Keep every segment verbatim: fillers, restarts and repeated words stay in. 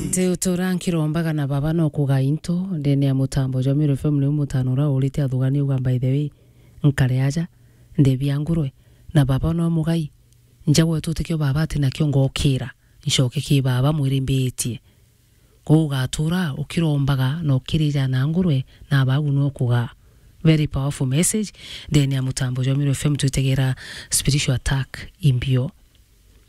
Nti utura nkirombaga na baba no kuga into ndene ya mutambo jwa Meru F M, ni mutano uria urite athugani uga, by the way, nkare aja, ndebi ya ngurwe, na baba no mugai, njagwe tutikio baba ati nakio ngokira, ncoke ki baba mwirimbitie. Kou ugatura ukirombaga na ukirija na ngurwe, na bagu no kuga. Very powerful message. Ndene ya mutambo jwa Meru F M twitegera spiritual attack imbio.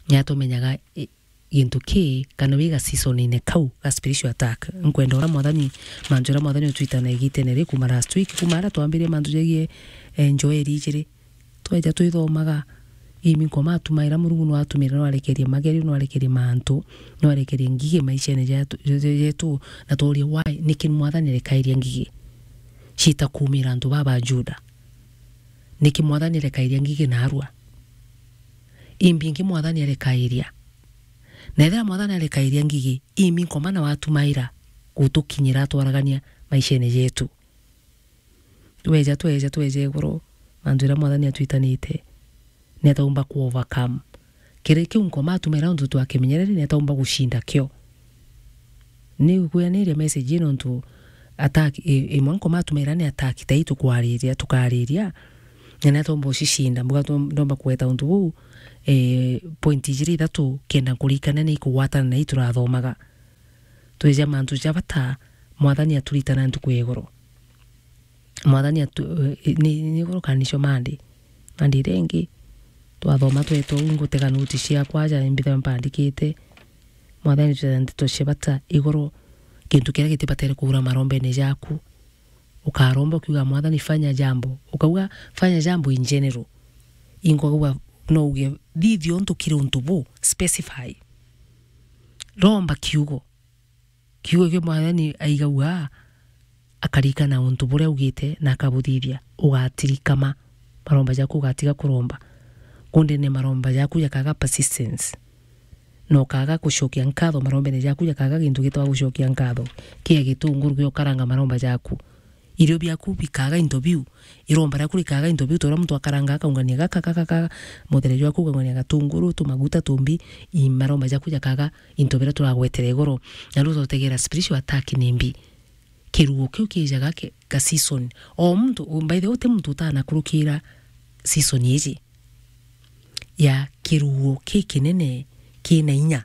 Nya tumenyaga, i-, gintu ki, kana wiga season-ine kau ga spiritual attack. Nkwenda uria Mwathani, mantu uria Mwathani utwitana igitene ri, kuma last week, kuma aria twambirie mantu jegie, eh, njoeri ijiri. Tweja twithomaga, imi nkoma atumaira, Murungu no atumire, no arekerie magerio, no arekerie mantu, no arekerie ngigi maishene jetu, je-, je-, jetu, na tworia, why? Niki Mwathani arekairia ngigi? Ciita kuumira antu baba Juda. Niki Mwathani arekairia ngigi naarua? Imbi ingi Mwathani arekairia? Na ethira Mwathani arekairia ngigi, imi nkoma na watumaira gutukinyira atwaragania maishene jetu? Tweja, tweja, tweja iguru, mantu jaria Mwathani atwitanite, ni ataumba ku overcome. Kiri kiu nkoma atumaira untu twakimenyereri, ni ataumba gucinda kio. Ni kwiyaniria message ino ntu attack, i-, imwe nkoma atumaira ni attack ta ii tukwariria, tukariria, na ni ataumba ucicinda. Mbuga tu-, ndomba kugweta untu buu, eh, point ijiri ithatu kenda nkurikania ni ikugwatana na ii turathomaga. Tweja mantu ja bata, Mwathani aturitana ntuku ya iguru. Mwathani atu-, eh, ni, ni iguru kana nicio Monday. Monday iria ingi, twathoma twetwa uu, ngutega noti ciakwa aja, imbitha mpandikite. Mwathani, twetha ndeto cia bata iguru, gintu kiria gitibatere kuura marombene jaku. Ukaromba ukiuga, "Mwathani, fanya jambo." Ukauga, "Fanya jambo in general." Ingwa uga, no uge, "Thithia untu kiri untu bu, specify." Romba kiugo. Kiugo kia Mwathani aigagua, akarikana untu buria augite na akabuthithia, ugatirikama. Maromba jaku ugatiga kuromba. Kundene maromba jaku jakaga persistence. Na ukaga gucokia nkatho, marombene jaku jakaga gintu gitwa gucokia nkatho. Kia gitunguru giokaranga maromba jaku. Irio biaku bikaga into biu. Iromba riaku rikaga into biu, ta uria muntu akaranga akaungania gaka, gaka, gaka, mutheri jwaku ukaungania gatunguru, tumaguta, tumbi, i maromba jaku jakaga into biria turagwetera iguru. Na riu utotegera spiritual attack ni mbi. Kiruo kiu kiijaga ki-, ga season. O muntu, by the way, uti muntu utanakurukira season iji ya kiruo kikinene kina inya.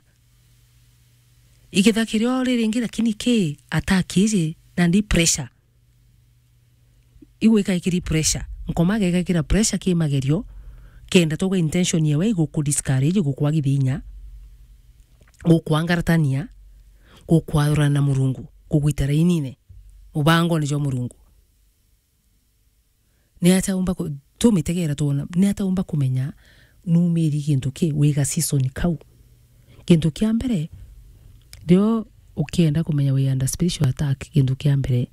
Ikitha kirio ri ringi, lakini ki attack iji, nandi pressure. Igwika ikiri pressure. Nkoma gegekira pressure ki magerio, kenda tuga intention yewe iguku discourage, gukwagithia inya, gukwangaratania, gukwathurana na Murungu, kugwita rainine, mubangone jwa Murungu. Ni atia umba ku-, tumitegera twona, ni atia umba kumenya numiri gintu ki, wiga season kau? Gintu kia mbere, rio ukienda kumenya wi under spiritual attack, gintu kia mbere,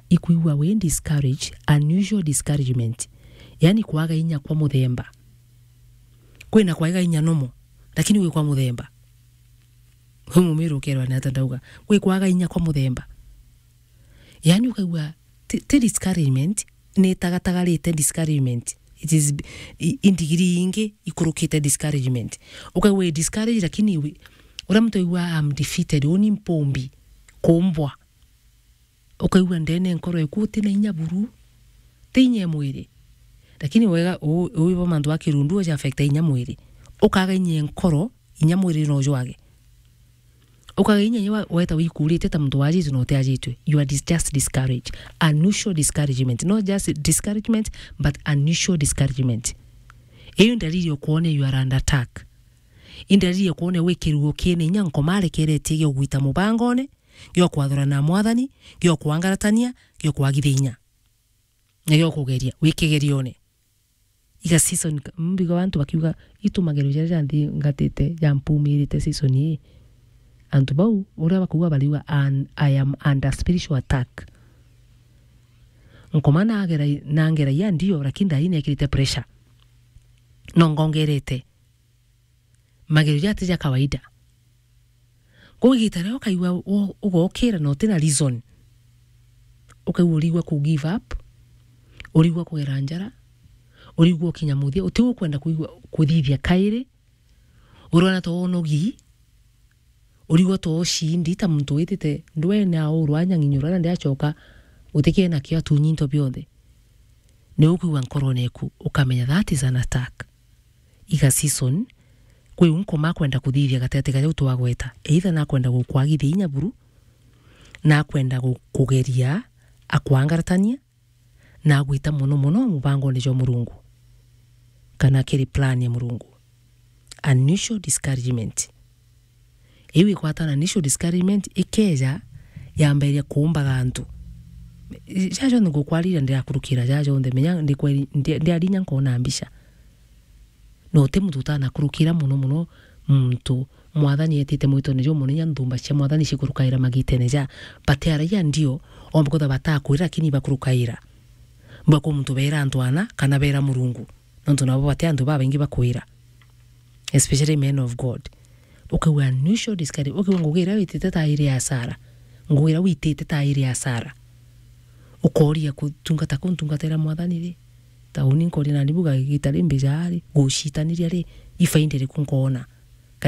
ikwigua wi discourage, unusual discouragement. Yani kwaga inya kwa muthemba. Kwina kwaiga inya nomo, lakini wi kwa muthemba. Wi mumiru ukerwa ni atia ndauga. Kwi kwaga inya kwa muthemba. Yani ukaigua ti, ti discouragement, ni itagatagarite discouragement. It is i, i ndigiri ingi ikurukite discouragement. Ukaigua wi discouraged, lakini wi, uria muntu aigua, "I'm defeated, uni mpumbi, kumbwa." Ukaigua ndene nkoro eku uti na inya buru, ti inya e mwiri. Lakini wega, u-, uwi bo mantu a kirundu uja affect inya mwiri. Ukaga inya e nkoro, inya mwiri no jwage. Ukaga inya inya wa-, weta wikurite ta muntu wajitwe na utiajitwe. You are dis-, just discouraged. Unusual discouragement. Not just discouragement, but unusual discouragement. Iyo ndariri ya kwona you are under attack. Indariri ya kwona wi kiruo kina inya nkoma arekeretie gia kugwita mubangone, gia kwathurana na Mwathani, gia kwangaratania, gia kwagithia inya. Na gia kugeria, wi kigerione. Iga season, mbigo bantu bakiuga, "Itu magerio jaria janthi ngatite, jampumirite season ii." Antu bau, uria bakauga bariuga, "An-, I am under spiritual attack." Nkoma nagera-, nangeragia ndio, lakini ndai nekirite pressure. No ngongerete. Magerio jati ja kawaida. Kou igita riria ukaigua u-, ugokira na utina reason, ukaigua urigua ku give up, urigua kugera njara, urigua ukinya muthia, uti ukwenda kuigua kuthithia kairi, urona ta wonogi, Urigwa to ucindi ta muntu witite ndwene aurwa anyang'inyura na ndiacoka utikie nakio atunyi into bionthe. Ni ukwigua nkorone eku, ukamenya that is an attack. Iga season, kwi u nkoma akwenda kuthithia gatigati ga jau twagweta. Either nakwenda gukwagithia inya buru, nakwenda gu-, kugeria akwangaratania, na agwita mono mono mubangone jwa Murungu, kana kiri plan ya Murungu. Unusual discouragement. Iu ikwatana na unusual discouragement ikeja yambairia kuumbaga antu. Jaja jonthe ngukwariria ndirakurukira jaja jonthe, menya ndikweri-, ndi-, ndiarinya nkona mbica. No ti muntu utanakurukira mono mono muntu Mwathani etite mwitone juu mono, inya nthumba cia Mwathani cikurukaira magitene ja. But araia ndio, omba kwithirwa batakwira, lakini ibakurukaira. Mbwa kwa muntu beera antu ana, kana beera Murungu. Nontu nabo bati antu babaingi bakwira. Especially men of God. Ukauga, "Unusual discouragement." Ukauga, "Ngugi iria witite ta iri ya Sara. Ngugi iria witite ta iri ya Sara." Ukoria kutungata kuu ntungatira Mwathani ri? Ta uni nkoria nani buga igita ri mbija ri? Gucitaniria ri? Ifaida iriku nkoona?